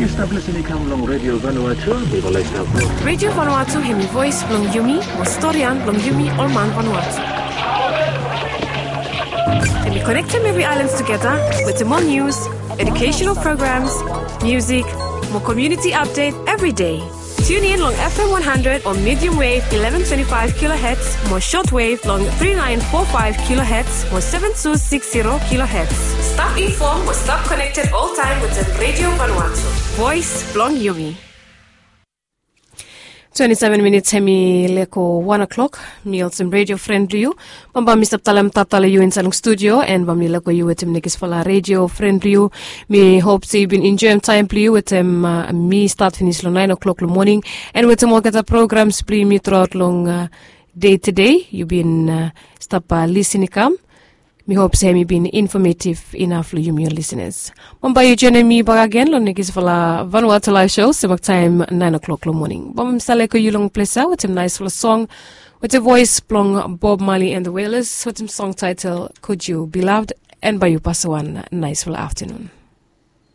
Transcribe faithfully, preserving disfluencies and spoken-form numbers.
Stap lisin i kam long Radio Vanuatu, mi go laik stap. Radio Vanuatu hemi voes blong yumi, mo storian blong yumi ol man Vanuatu. Hemi konektem evri aelan tugeta wetem ol nius, educational programs, music, mo community update every day. Tune in long F M one hundred o medium wave eleven twenty-five kilohertz mo short wave long three nine four five kilohertz mo seven two six zero kilohertz. Stap inform mo stap connected all time wetem Radio Vanuatu. Voes blong yumi. Twenty-seven minutes hemi leko one o'clock. Mi olsem Radio Friend blong yu. Bamba mi stap talem tata long yu insaed long studio, en bamba mi leko yu wetem nekisfala Radio Friend blong yu. Mi hop se yu bin enjoem taem blong yu wetem, uh, mi stat finis long nine o'clock long moning, en wetem olgeta programs blong yumi truaot long, uh, dei tede. Yu bin, uh, stap, uh, lisin i kam. Mi hop se hemi bin informative inaf long yumi ol lisenas. Bamba yu joenem mi bakegen long nekisfala Vanuatu Live Show, sem waktaem nine o'clock long moning. Bamba mi save leko yu long ples ya wetem naesfala song wetem voes blong Bob Marley and the Wailers wetem song taetel Could You Be Loved, en bae yu pasem wan naesfala aftenun.